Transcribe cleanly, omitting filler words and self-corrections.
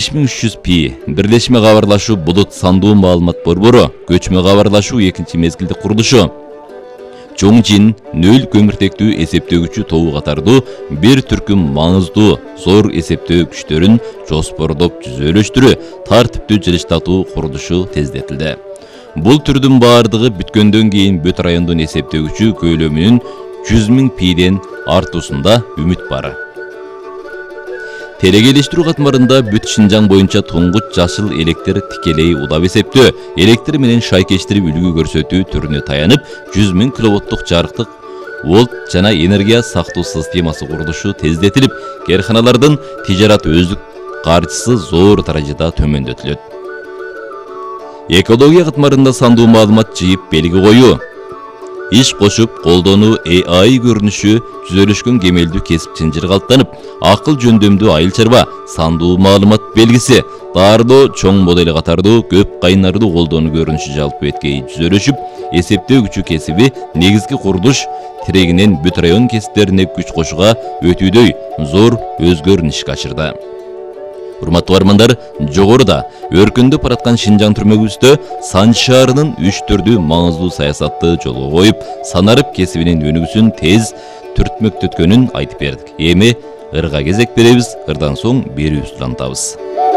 5300 пи бирлешме кабарлашуу булут сандуу маалымат борбору, көчмө кабарлашуу экинчи мезгилдик курулушу, Чоңжин нөл көмүртектүү эсептөгүчү тобу катардуу бир түркүм маңыздуу зор эсептөө күчтөрүн жоспордоп түзөлүштүрүү, тартиптүү жылыштатуу курулушу тездетилди. Бул түрдүн баардыгы бүткөндөн кийин бүт райондун эсептөгүчү көлөмүнүн 100 000 пиден артуусунда үмүт бар. Телегелештирүү катмарында бүт Шинжаң боюнча туңгуч жашыл электр тикелей удап эсептөө, электр менен шайкештирип үлгү көрсөтүү түрүнө таянып, 100 000 киловаттык жарыктык волт жана энергия сактоо системасы курулушу тездетилип, кээрханалардын тижарат өздүк каржысы зор даражада төмөндөтүлөт. Экология катмарында сандуу маалымат жыйып белги коюу, иш кошуп колдонуу AI көрүнүшү түзөлүшкөн кемелдүү кесип чынжыр калыптанып, акыл жөндөмдүү айыл чарба, сандуу маалымат белгиси, даардоо чоң модели катардуу көп кайнардуу колдонуу көрүнүшү жалпы эткей түзөлүшүп, эсептөө күчү кесиби негизги курулуш тирегинен бүт район кесиптерине күч кошууга өтүүдөй зор өзгөрүнүшкө ачырды. Урматтуу бармандар, жогоруда өркүндөп бараткан Шинжаң түрмөгүбүздө Сан шаарынын 3 маңыздуу саясатты жолго коюп, санарып кесибинин өнүгүүсүн тез түртмөктөткөнүн айтып бердик. Эми ырга кезек беребиз, ырдан соң берүүбүздү улантабыз.